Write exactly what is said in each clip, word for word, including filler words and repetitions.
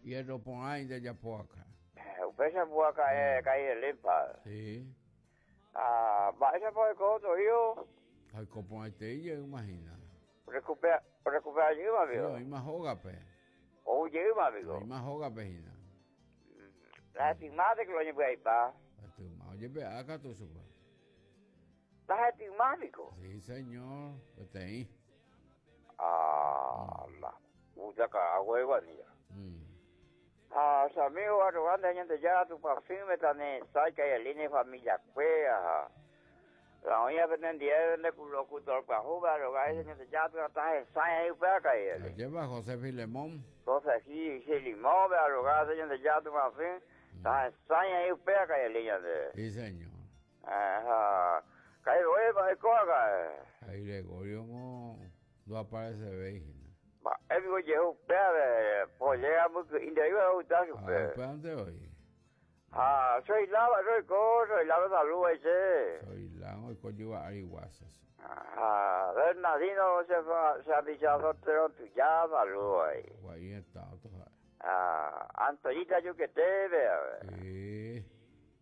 Hierro porã de Yapoaca. Upéicha pu'aka Kairelépa. Sí. Ah, mba'éichapa oiko Torío? Oiko porãitei imagina. Recupera, recupera jeýma Sí, amigo. oĩma hógape. Ou jeýma amigo. Oĩma hógape hína. La hetymáte que lo oñembyaipa. Hetyma ojepe'a katu chupe. La hetyma amigo. Sí, señor. Peteĩ. Ah, la puta carajo guanilla. Mm. Ah, su amigo arrogante Ñandejára Tupãsýme tanesái Kaireline familia kuéra. La oĩva penendive locutor pyahu arrogante Ñandejára tahesãi ahí upéva Kaireline. Lleva José Filemón. José Filemón arrogante Ñandejára Tupãsy tahesãi ahí upéva Kaireline ñande. Sí, señor. Ajá. Kairoe mba'ekóa Ahí Gregorio no, no aparece hína. Mba'épiko jeho upéva pollega mbyky'ínte ogusta Ah, chupe. ¿upéva dónde hoy? Ah, soy lava, soy co, soy lava salud ese. Soy la oiko yva ári guasas. Ah, Bernardino se se ha dicho soltero tuya, saludo ahí. Guay está otro. Ah, Antoñita Yuquete, vea. Sí.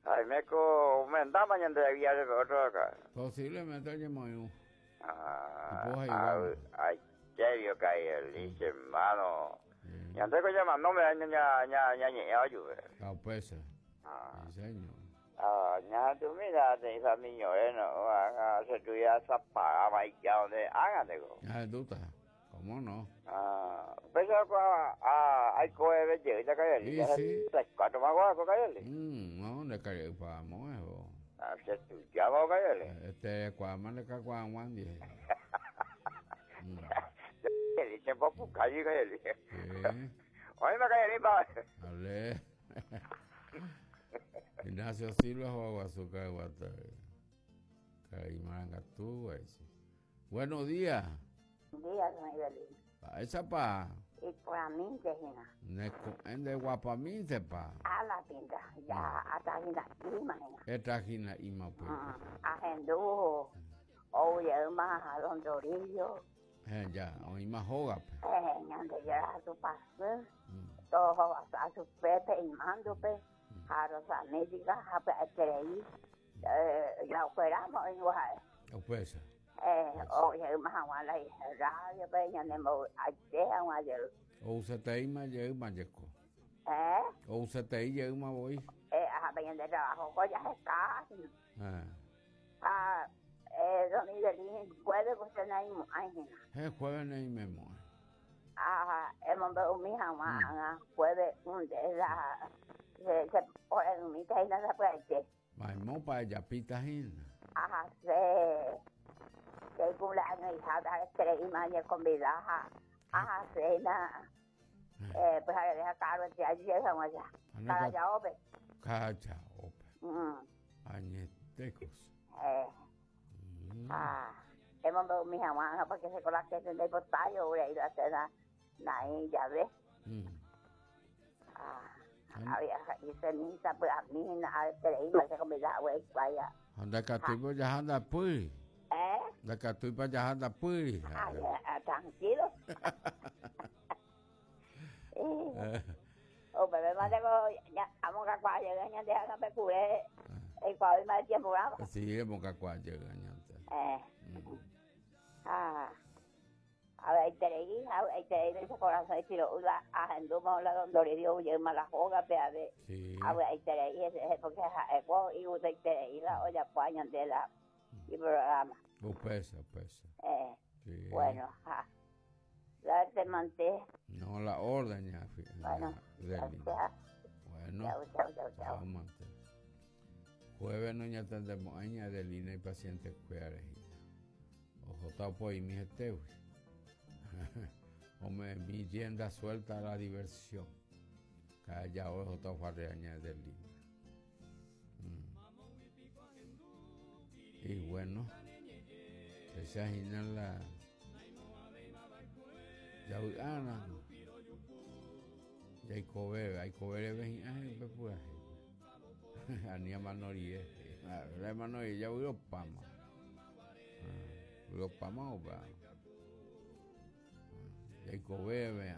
Ay, me co, me andaba mañana de viaje otro acá. Posiblemente oye Ah, Pues ahí ah, vamos. ay, serio cae el dice, hermano. Sí. Ya antes que llama, no me ña ña ña ña ña ayude. La pesa. Ah. Sí, señor. Ah, ña tú mira, te hizo niño, eh, no, ah, se tuviera esa parada y ya donde hágate go. Ya, tú estás. ¿Cómo no? Ah, pues a a hay coe de ya cae Sí, sí. Cuatro más guaco cae. Mm, no, le cae pa mo Ah, se tu ya va cae. Este cuama le cae cuan dije. Mm. El tiempo calle cae. Sí. Oye, me cae pa. Ale. Ignacio Silva Juaguazuca de Guatare. Caimarangatú, sí. Buenos días. Día, don Evelyn. Pa esa pa. Y por a mí, Regina. De guapaminte pa. A la pinta. Ya, hasta Gina, imagina. Esta Gina ima pues. A Gendú, oye, más a don Dorillo. Eh, ya, o ima joga pe. Eh, ñande ya a su pastor. Todo a su Pepe y mando pe. A Rosamídica, a creí. Eh, ya operamos en Oaxaca. O pesa. Eh, oye, más a la radio, pe, ñande mo, a teja, a O usted ima ye ima yeko. Eh? O usted ye ima voy. Eh, a peña de trabajo, ya es casi. Eh. Ah, eh, don Miguelín, jueves pues no hay hay Eh, jueves no hay memo. Ah, hemos visto mi mamá, jueves un de la se se por mi taina se puede. Maimo pa ella pita hina. Ajá, se se cumpleaños hija de tres y mañana convidada. Ajá, cena. Eh, pues a deja caro el día llega allá. Cada ope. Cacha ope. Mm. Añetecos. Eh. Ah, hemos visto mi mamá porque se con la que se de potayo, voy a ir a cena. Ahí ya ve. Mm. Ah, había y ceniza pues a mí a tres y se convidada, güey, vaya. Anda catuy pa anda puri. ¿Eh? Anda catuy pa anda puri. Ah, ya, tranquilo. O bebé más tengo ya amo que cuando llegue ya deja que me cure. El cual más tiempo bravo. Sí, hemos que cuando llega ya. Eh. Ah. A ver, terei, a ver, terei ese corazón y tiro la agendo la don Doridio y mala joga pe a ver. Sí. A ver, terei ese porque es y usted terei la olla pañan de la y programa. O pesa, pesa. Eh. Sí. Bueno, ja. La te manté. No, la orden ya. Bueno, gracias. Bueno. Chao, chao, chao, chao. Mante. Jueves no ya tendremos aña de línea y pacientes cuidarejita. Ojo, tapo y mi gente. O me mi tienda suelta a la diversión. Calla ojo, tapo aña de línea. Mm. Y bueno, esa es la ya ana ya ikove aikove reve hi'ã upe purahéipe ani amanorie la amanorie javy'opáma vy'opáma opa jaikovéve